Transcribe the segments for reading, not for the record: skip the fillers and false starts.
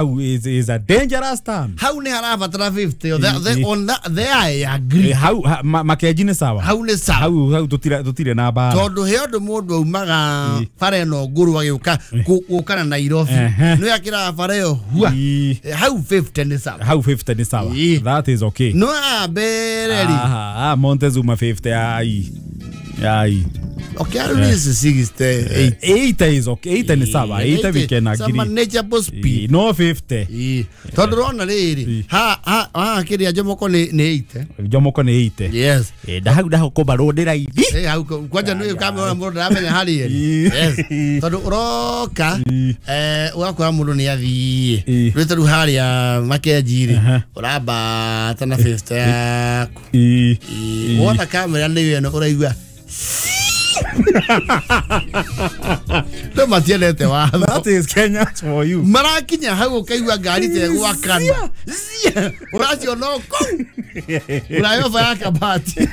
Hau is a dangerous term. Hau nĩ harabatara 50 on that there I agree. Hau makenji nĩ sawa. Hau nĩ sawa. Hau tũtirĩ na mbara. Tondũ he ũndũ mũndũ aumaga bara ĩno ngũrũ agĩũka gũka na Nairobi. Nĩ akĩraga bara ĩyo hua. Hau 50 nĩ sawa. Hau 50 nĩ sawa. That is okay. No mbere rĩ. Ah, Montezuma 50 ai. Ai. Okay, I is 68. 80 is okay. 80 ni sawa. 80 we can agree. Some manageable speed. No 50. Tondu rona riri. Ha ha ha kiria Jomoko ni 80. Jomoko ni 80. Yes. Ndahau ndahuko road raithi. Eh hau kwanja ni kamera mundu ndaramenya hari. Yes. Tondu uroka ugakora mundu ni athie. Rwite ru haria Makenji ri. Urambata na 50 yaku. Wona kamera ni eno uraigua. No matiendete watho. That is Kenya for you. Marakinya hau ukaigua ngari te gwakana. Uraciona kuu. Urayova ya kabati.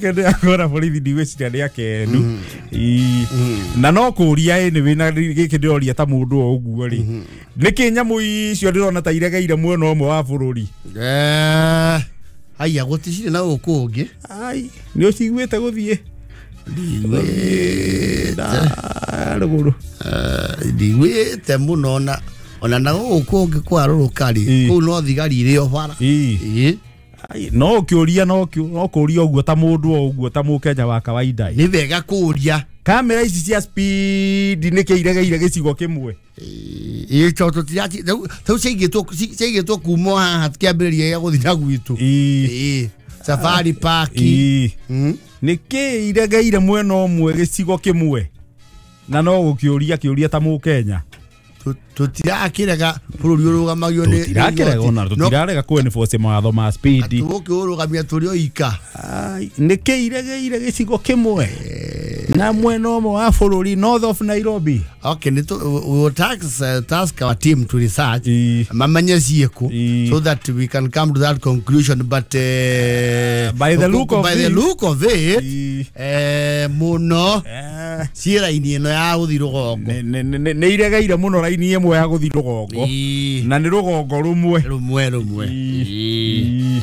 Kende akora borithi ndigwiciria nĩ akenu. Na no kũria ĩ wĩna gĩkĩ ndĩroria ta mũndũ o ũguo rĩ. Nĩkĩ nyamũ icio ndĩrona ta iregeire mwena ũmwe wa bũrũri? Haya gũticirĩ na gũkũ ũngĩ. Ai, nĩ ũciguĩte gũthiĩ? Rũgũrũ. Ndiguĩte mũno ona na gũkũ ũngĩ kwarũrũka rĩ, kũu no thigari irĩ o bara. Ai, no ũkĩũria no kũũria ũguo ta mũndũ o ũguo ta mũkenya wa kawaida. Nĩ wega kũũria. Kamera ici cia speed nĩkĩ iregeire gĩcigo kĩmwe? Ĩ tondũ tũtiraci ciaigĩtwo kuma haha kĩambĩrĩria gĩa gũthiĩ na gwitũ. Safari Park. Nĩkĩ iregeire mwena ũmwe gĩcigo kĩmwe? Na no gũkĩũria kĩũria ta mũkenya. Tũtirakĩrega bũrũri ũrũgamagio nĩ tũtirakĩrega ona tũtirarega kũ enforce mawatho ma speed. Tũgũkĩũrũgamia tũrĩ o ika. Nĩkĩ iregeire gĩcigo kĩmwe? Na mwena ũmwe wa bũrũri, north of Nairobi. Okay, we will task our team to research mamanye ciĩkũ so that we can come to that conclusion, but by the look of it, mũno ciĩ raini ĩno ya gũthiĩ rũgongo. Nĩ iregeire mũno raini ĩmwe ya gũthiĩ rũgongo. Na nĩ rũgongo rũmwe. Rũmwe.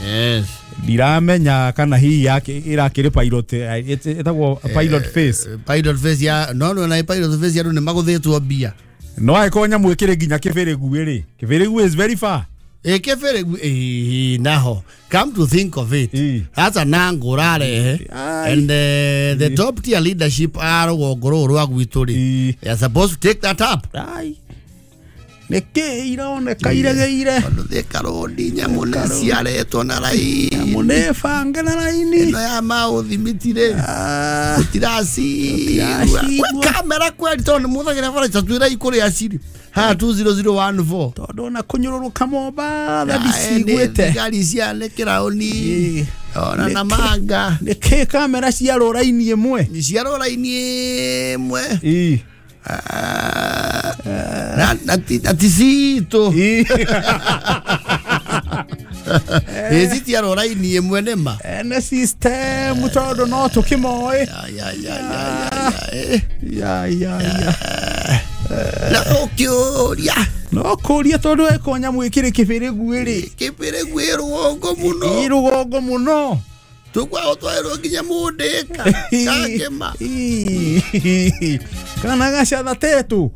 Yes. Ndiramenya kana hihi irakĩrĩ pilot ĩtagwo pilot face. Pilot face ya no no na pilot face ya nĩ magũthĩtwo mbia. No angĩkorwo nyamũ ĩkĩrĩ nginya Kĩbĩrĩgu rĩ, Kĩbĩrĩgu is very far. Kĩbĩrĩgu naho come to think of it, hata nango ũrarehe and the top tier leadership a rũgongo rũrũ rwa gwitũ rĩ, they are supposed to take that up. Nĩkĩ ironeka iregeire? Tondũ Thika Road nyamũ nĩ ciaretwo na raini. Nyamũ nĩ bange na raini. Ĩno ya maũthimiti rĩ, tũtiracigua. Kamera kweli tondũ nĩmũthagĩra bara twĩrai kũrĩa cirĩ. Ha 20014. Tondũ ona kũnyũrũrũka Mombatha ndiciguĩte. Thigari cianĩkĩra ũni. Ona Namanga. Nĩkĩ kamera ciarwo raini ĩmwe? Ciarwo raini ĩmwe. Na ticitũ. Ĩ citiarwo raini ĩmwe nĩma. Ene system tondũ no tũkĩmoĩ. Ya. Na ũkĩũria. No kũũria tondũ eko nyamũ ĩkĩrĩ Kĩbĩrĩgu rĩ. Kĩbĩrĩgu ĩ rũgongo mũno. Ĩ rũgongo mũno. Tũkwao twaĩrwo nginya Mũndĩka. Kakĩma. Kana gacatha tetu.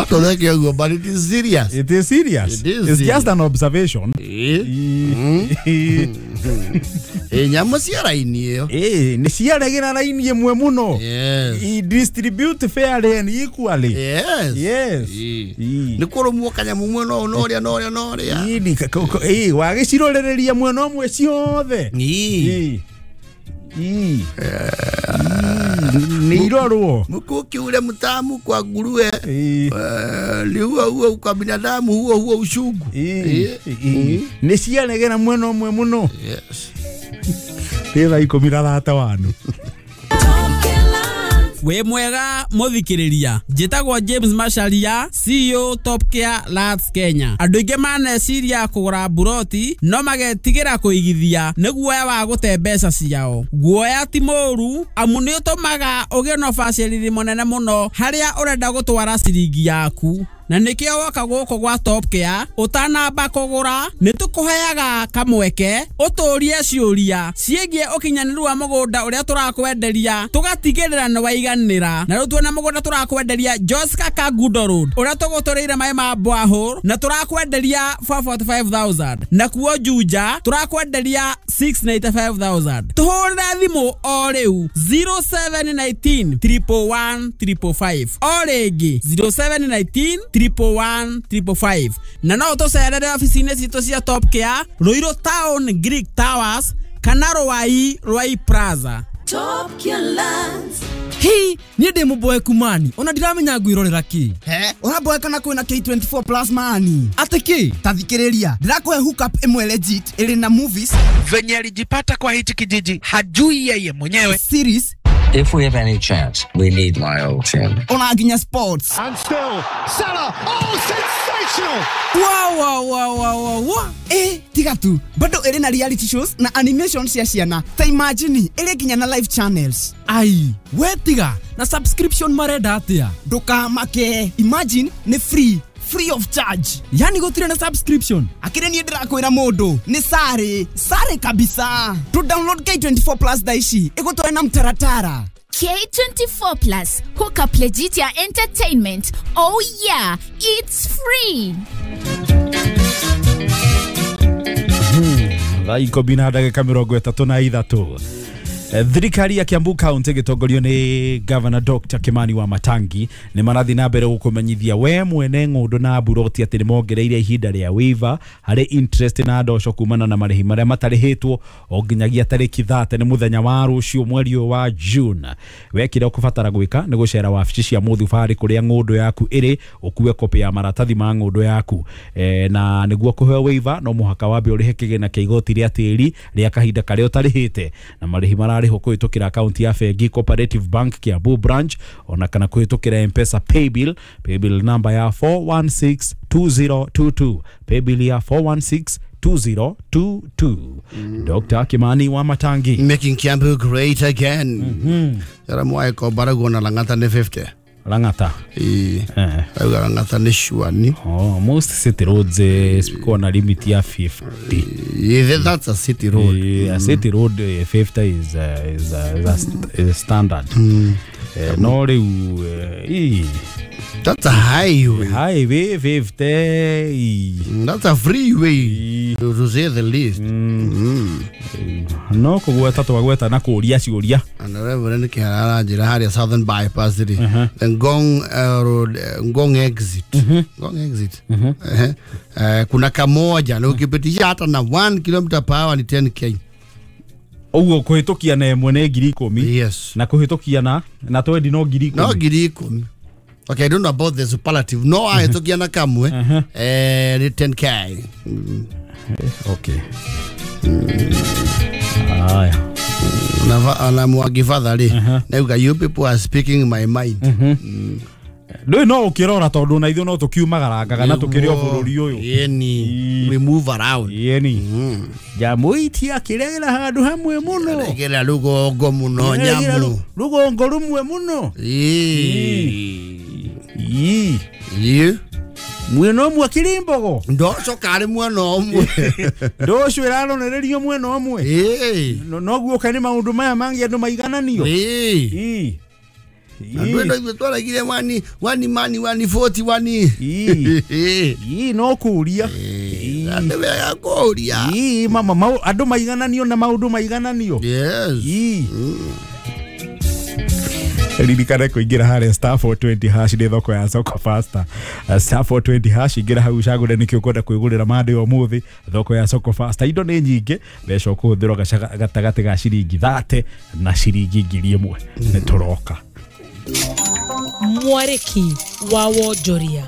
Tũreke ũguo, but it is serious. It is serious. It's just an observation. Nyamũ cia raini ĩyo. Nĩ ciaregera raini ĩmwe mũno. Distribute fairly and equally. Yes. Nĩ kũrũmwo kanyamũ mwena ũyũ na ũrĩa na ũrĩa na ũrĩa. Wagĩcirorereria mwena ũmwe ciothe. Nĩ irorwo. Mkuki ule mtamu kwa nguruwe. Ni huo huo kwa binadamu, huo huo ushungu. Nĩ ciaregera mwena ũmwe mũno. Yes. Thaa 15. Wĩ mwega mũthikĩrĩria, njĩtagwo James Macharia, CEO Top Care Lands Kenya. Andũ aingĩ maneciria kũgũra mburoti no magetigĩra kũigithia nĩ guoya wa gũte mbeca ciao. Guoya ti mũũru amu nĩ ũtũmaga ũgĩe na ũbacĩrĩri mũnene mũno harĩa ũrenda gũtwara ciringi yaku. Na nĩkĩo woka gũkũ gwa Top Care ũtanamba kũgũra nĩ tũkũheaga kamweke ũtũrie ciũria ciĩgiĩ ũkinyanĩru wa mũgũnda ũrĩa tũrakwenderia tũgatigĩrĩra nĩ waiganĩra. Na rĩu tuona mũgũnda tũrakwenderia Joska Kangundo Road ũrĩa tũgũtũrĩire maĩ ma borehole na tũrakwenderia 445,000, na kuo Juja tũrakwenderia 695,000. Tũhũrĩre thimũ o rĩu 0719 111 555, o rĩngĩ 0719 111 555, na no ũtũcerere ofici-inĩ citũ cia Top Care Ruiru Town Greek Towers kana Ruai Ruai Plaza. Top Care Lands. Hi, niĩ ndĩ mũboeku mani ona ndiramenya ngwĩrorera kĩ. He, ũraboeka na kwĩna K24 plus mani. Atĩ kĩ? Ta thikĩrĩria, ndĩrakũhe hookup ĩmwe legit ĩrĩ na movies. Venye alijipata kwa hichi kijiji hajui yeye mwenyewe. Series. If we have any chance, we need my old team. Ona nginya sports. And still, Salah, oh, sensational! Wow, wow, wow, wow, wow. Tiga tu, bado ĩrĩ na reality shows na animation cia ciana. Ta imagine, ĩrĩ nginya na live channels. Ai, we tiga, na subscription marenda atĩa? Ndũkamake, imagine nĩ free. Free of charge. Yani gũtirĩ na subscription. Akĩrĩ niĩ ndĩrakwĩra mũndũ nĩ sare sare kabisa. To download K24 plus thaa ici ĩgũtware na mtaratara. K24 plus hook up legit ya entertainment. Oh yeah, it's free. Thaa ikũmi na ndagĩka mĩrongo ĩtatũ na ithatũ. Thirikari ya Kiambu County gĩtongorio nĩ Governor Dr. Kimani wa Matangi nĩ marathiĩ na mbere gũkũmenyithia we mwene ng'ũndũ na mburoti atĩ nĩ mongereire ihinda rĩa waiver harĩ interest na ndoco kumana na marĩhi marĩa matarĩhĩtwo o nginyagia tarĩki 30 nĩ mũthenya wa rũciũ mweri ũyũ wa June. We kĩrĩa ũkũbatara gwĩka nĩ gũcera wabici cia mũthubarĩ kũrĩa ng'ũndũ yaku ĩrĩ ũkue kopĩ ya maratathi ma ng'ũndũ yaku, na nĩguo kũheo waiver no mũhaka wambe ũrĩhe kĩgĩna kĩa igoti rĩa tĩri rĩa kahinda karĩa ũtarĩhĩte, na marĩhi mararĩhwo kũhĩtũkĩra akaunti ya bengi Cooperative Bank Kiambu branch ona kana kũhĩtũkĩra M-Pesa paybill number ya 4162022, paybill ya 4162022. Dr. Kimani wa Matangi, making Kiambu great again. Yara ko barago na Lang'ata ni 50. Lang'ata. Lang'ata ni shuani. Oh, most city roads speak na limit ya 50. Yeah, that's a city road. Yeah, a city road 50 is a standard. No riu that's a highway. Highway 50. That's a freeway, to say the least. No kugweta twagweta na kuria ciuria. And Reverend Kihara njira haria Southern Bypass ri. The Ngong road, Ngong exit. Ngong exit. Kuna kamoja na ukipitisha hata na 1 km per hour ni 10k. Ũguo kũhĩtũkia na ĩmwe nĩ ngiri ikũmi. Yes. Na kũhĩtũkia na 20 no ngiri ikũmi. No ngiri ikũmi. Okay, I don't know about the superlative. No, I took yana kamwe. 10k. Okay. Aya. Na mwagi father ri. Na you people are speaking my mind. Ndũĩ no ũkĩrora tondũ na ithuĩ no tũkiumagarangaga na tũkĩrĩ o bũrũri ũyũ. Yeni, we move around. Yeni. Nyamũ itiakĩregera handũ hamwe mũno. Regera rũgongo mũno nyamũ. Rũgongo rũmwe mũno. Ii. Mwena ũmwe akĩrĩ mbogo. Ndoco karĩ mwena ũmwe. Ndoco ĩraronererio mwena ũmwe. Noguo kaĩ nĩ maũndũ maya mangĩ andũ maigananio. Ii. Andũ ĩno ithuĩ twaragire wani mani wani 40 wani. Ii no kũria. Andũ wega kũria. Ii mama andũ maigananio na maũndũ maigananio. Yes. Ii. Ririkana kũingĩra harĩa star 420 hash nĩ thoko ya Soko Faster. Star 420 hash ingĩra hau ũcagũre nĩkĩ ũkwenda kwĩgũrĩra mandĩ ũmũthĩ thoko ya Soko Faster. Indo nĩ nyingĩ, mbeca ũkũhũthĩrwo gatagatĩ ga ciringi 30 na ciringi 1000. Nĩ tũroka. Mwarĩki wa wonjoria.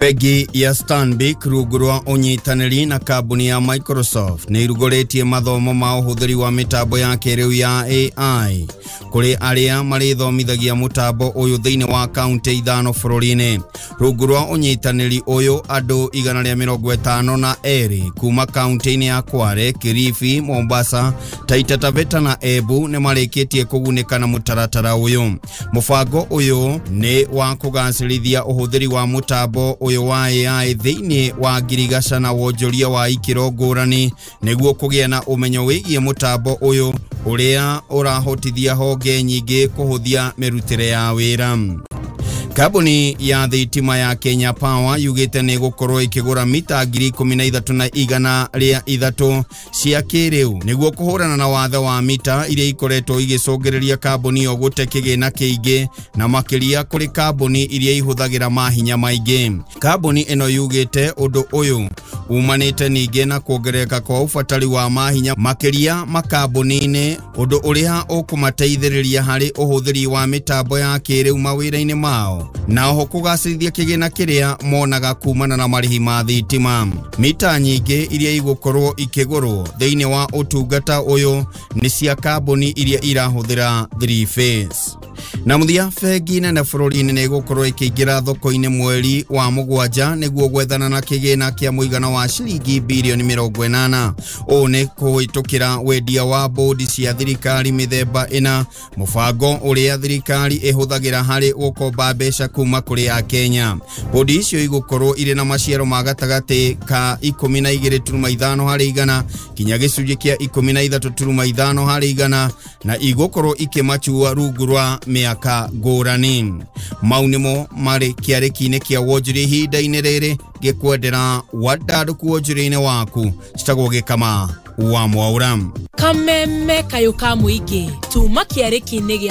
Bengi ya Stanbic rungu rwa ũnyitanĩri na kambuni ya Microsoft nĩ irugũrĩtie mathomo ma ũhũthĩri wa mĩtambo ya kĩrĩu ya AI. kũrĩ arĩa marĩthomithagia mũtambo ũyũ thĩinĩ wa kaunti 5 bũrũri-inĩ. Rungu rwa ũnyitanĩri ũyũ andũ 152 kuma kaunti-inĩ ya Kwale, Kilifi, Mombasa, Taita Taveta na Embu nĩ marĩkĩtie kũgunĩka na mũtaratara ũyũ. Mũbango ũyũ nĩ wa kũgacĩrithia ũhũthĩri wa mũtambo ũyũ wa AI thĩinĩ wa ngirigaca na wonjoria wa ikĩro ngũrani nĩguo kũgĩa na ũmenyo wĩgiĩ mũtambo ũyũ ũrĩa ũrahotithia honge nyingĩ kũhũthia mĩrutĩre ya wĩra. Kambuni ya thitima ya Kenya Power yugĩte nĩ gũkorwo ĩkĩgũra mita 13,103 cia kĩrĩu nĩguo kũhũrana na wathe wa mita iria ikoretwo igĩcũngĩrĩria kambuni ĩyo gũte kĩgĩna kĩingĩ na makĩria kũrĩ kambuni iria ihũthagĩra mahinya maingĩ. Kambuni ĩno yugĩte ũndũ ũyũ umanĩte ningĩ na kuongerereka kwa ũbatari wa mahinya makĩria makambuni-inĩ, ũndũ ũrĩa ũkũmateithĩrĩria harĩ ũhũthĩri wa mĩtambo ya kĩrĩu mawĩra-inĩ mao na oho kũgacĩrithia kĩgĩna kĩrĩa monaga kumana na marĩhi ma thitima. Mita nyingĩ iria igũkorwo ikĩgũrwo thĩinĩ wa ũtungata ũyũ nĩ cia kambuni iria irahũthĩra 3 phase. Na mũthia, bengi nene bũrũri-inĩ nĩ ĩgũkorwo ĩkĩingĩra thoko-inĩ mweri wa 7 nĩguo gwethana na kĩgĩna kĩa mũigana wa ciringi birioni 80. Ũũ nĩ kũhĩtũkĩra wendia wa bodi cia thirikari mĩthemba ĩna, mũbango ũrĩa thirikari ĩhũthagĩra harĩ gũkomba mbeca kuma kũrĩ Akenya. Bodi icio igũkorwo irĩ na maciaro ma gatagatĩ ka 12.5 harĩ igana kinya gĩcunjĩ kĩa 13.5 harĩ igana na igũkorwo ikĩmachua rungu rwa mĩaka ngũrani. Mau nĩmo marĩ kĩarĩki-inĩ kĩa wonjoria ihinda-inĩ rĩrĩ ngĩkwendera wandandũku wonjoria-inĩ waku. Citagwo Gĩkama wa Mwaura. Kameme kayũ ka mũingĩ tuma kĩarĩki-inĩ gĩa